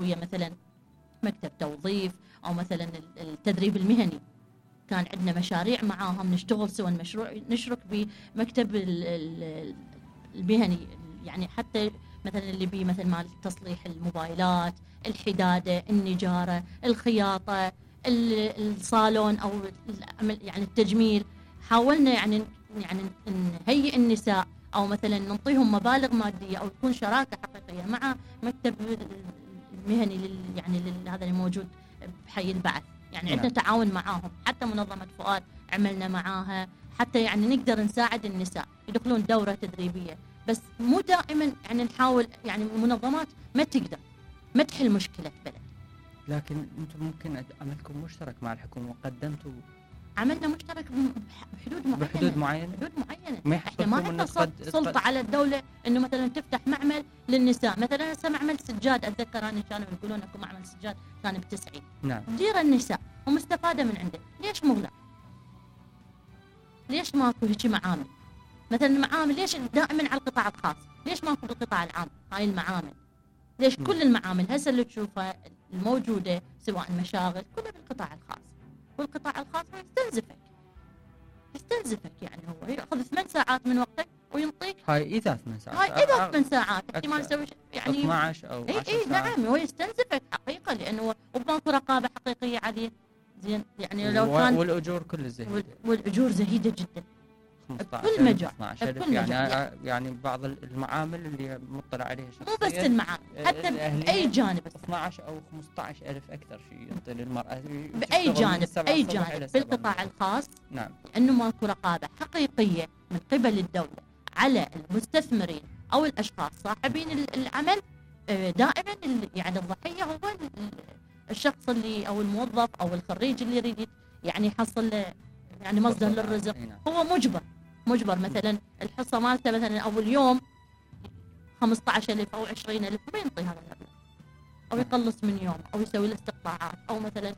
ويا مثلا مكتب توظيف او مثلا التدريب المهني. كان عندنا مشاريع معاهم نشتغل سوا، مشروع نشرك بمكتب المهني، يعني حتى مثلا اللي بيه مثلا مال تصليح الموبايلات، الحداده، النجاره، الخياطه، الصالون او يعني التجميل. حاولنا يعني نهيئ النساء او مثلا نعطيهم مبالغ ماديه او تكون شراكه حقيقيه مع مكتب المهني يعني هذا اللي موجود بحي البعث. يعني عندنا تعاون معاهم، حتى منظمه فؤاد عملنا معاها، حتى يعني نقدر نساعد النساء يدخلون دوره تدريبيه. بس مو دائما يعني نحاول، يعني المنظمات ما تقدر ما تحل مشكله بلد. لكن انتم ممكن عملكم مشترك مع الحكومه وقدمتوا. عملنا مشترك بحدود معينه. احنا ما عندنا سلطه على الدوله انه مثلا تفتح معمل للنساء. مثلا هسه معمل سجاد، اتذكر انا كانوا يقولون اكو معمل سجاد كان ب90. نعم. ديره النساء ومستفاده من عنده، ليش مغلق؟ ليش ماكو هيك معامل؟ مثلا المعامل ليش دائما على القطاع الخاص؟ ليش ماكو بالقطاع العام هاي المعامل؟ ليش كل المعامل هسه اللي تشوفها الموجوده سواء مشاغل كلها بالقطاع الخاص؟ والقطاع الخاص يستنزفك يعني هو ياخذ 8 ساعات من وقتك وينطيك. هاي اذا 8 ساعات، هاي اذا 8 ساعات احتمال يسوي يعني 12 او 10 ساعات. نعم، هو يستنزفك حقيقه لانه وماكو رقابه حقيقيه عليه. زين يعني لو كان والاجور كل زهيده، والاجور زهيده جدا 15 بكل مجال. يعني بعض المعامل اللي مطلع عليها شخصيا، مو بس المعامل، حتى باي جانب 12 او 15 الف اكثر شيء ينطي للمراه باي جانب بالقطاع الخاص. نعم. انه ماكو رقابه حقيقيه من قبل الدوله على المستثمرين او الاشخاص صاحبين العمل. دائما يعني الضحيه هو الشخص اللي او الموظف او الخريج اللي يريد يعني يحصل يعني مصدر للرزق. هو مجبر مثلا الحصه مالته مثلا اول يوم 15,000 او 20,000 ما ينطي هذا المبلغ، او يقلص من يوم او يسوي له استقطاعات او مثلا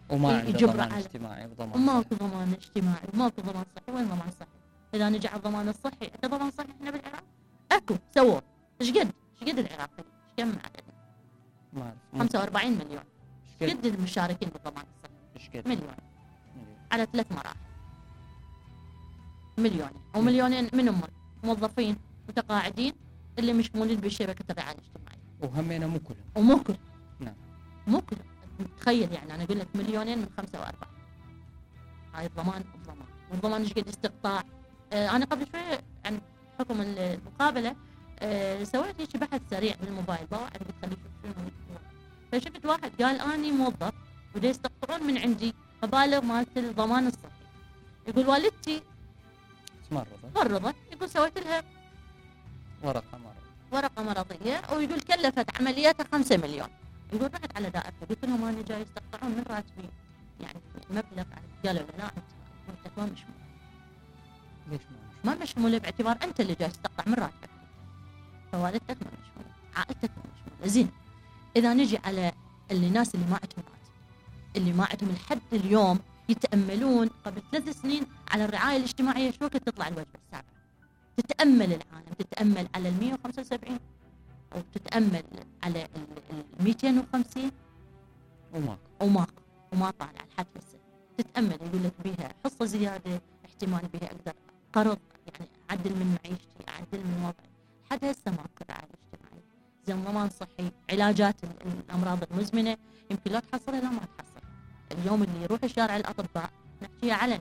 يجبر على اجتماعي وماكو ضمان اجتماعي وماكو ضمان صحي. وين ضمان صحي؟ اذا نجي على الضمان الصحي، انت ضمان صحي احنا بالعراق اكو سووا ايش قد العراقي ايش كم عددنا؟ ما اعرف 45 مليون. ايش قد المشاركين بالضمان الصحي؟ ايش قد؟ مليون على 3 مراحل. مليونين او مليونين منهم موظفين متقاعدين اللي مشمولين بشبكه الرعايه الاجتماعيه. وهمينا مو كلهم. نعم. مو كلهم. تخيل يعني انا اقول لك مليونين من 5 و4. هاي الضمان. والضمان ايش قد استقطاع. انا قبل شويه عن حكم المقابله سويت هيك بحث سريع بالموبايل، ضاعت قلت خلي اشوف شنو. فشفت واحد قال اني موظف ودا يستقطعون من عندي مبالغ مالت الضمان الصحي. يقول والدتي مرضت، يقول سويت لها ورقه مرضيه ويقول كلفت عملياتها 5 مليون. يقول رحت على دائرته قلت لهم انا جاي يستقطعون من راتبي يعني مبلغ. قالوا لا انت ما مشمول. ليش ما مشمول؟ باعتبار انت اللي جاي تستقطع من راتبك، فوالدتك ما مشمول، عائلتك ما مشمول. زين اذا نجي على الناس اللي ما عندهم راتب، اللي ما عندهم لحد اليوم يتأملون قبل 3 سنين على الرعاية الاجتماعية شو وقت تطلع الوجبة السابعة. تتأمل العالم، تتأمل على 175 أو تتأمل على 250 وما طالع لحد هسه. تتأمل يقول لك بيها حصة زيادة، احتمال بيها أقدر قرض يعني أعدل من معيشتي، أعدل من وضعي. لحد هسه ماكو رعاية اجتماعية. زين ضمان صحي، علاجات الأمراض المزمنة يمكن لا تحصلها لا ما تحصل. اليوم اللي يروح الشارع الأطباء نحكيها علني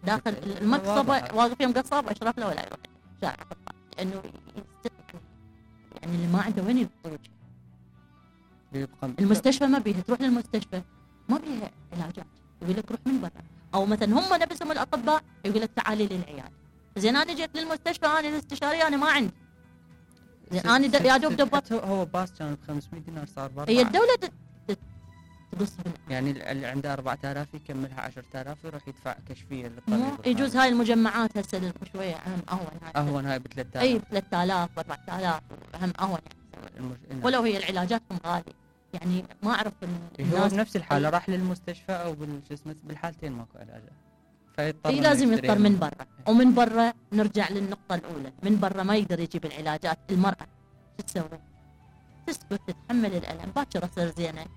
داخل المقصبة واقف يوم قصاب أشرف له ولا يروح شارع الأطباء لأنه يعني اللي ما عنده وين يروح. المستشفى ما بيها، تروح للمستشفى ما بيها علاجات، يقول لك روح من برا. أو مثلا هم نفسهم الأطباء يقول لك تعالي للعيادة. زين أنا جيت للمستشفى أنا الاستشارية أنا ما عندي. زين أنا يا دوب دبت. هو باص كان ب 500 دينار صار ب 4. هي الدولة يعني اللي عنده 4000 يكملها 10,000 يروح يدفع كشفيه للطبيب. يجوز هاي المجمعات هسه شويه اهون هاي ب 3000. اي ب 3000 و 4000 اهم اهون يعني. ولو هي العلاجاتهم غاليه يعني ما اعرف هو بنفس الحاله راح للمستشفى او بالحالتين ماكو علاج. فيضطر لازم يضطر من برا. ومن برا نرجع للنقطه الاولى، من برا ما يقدر يجيب العلاجات. المراه شو تسوي؟ تسكت تتحمل الالم باكر تصير زينه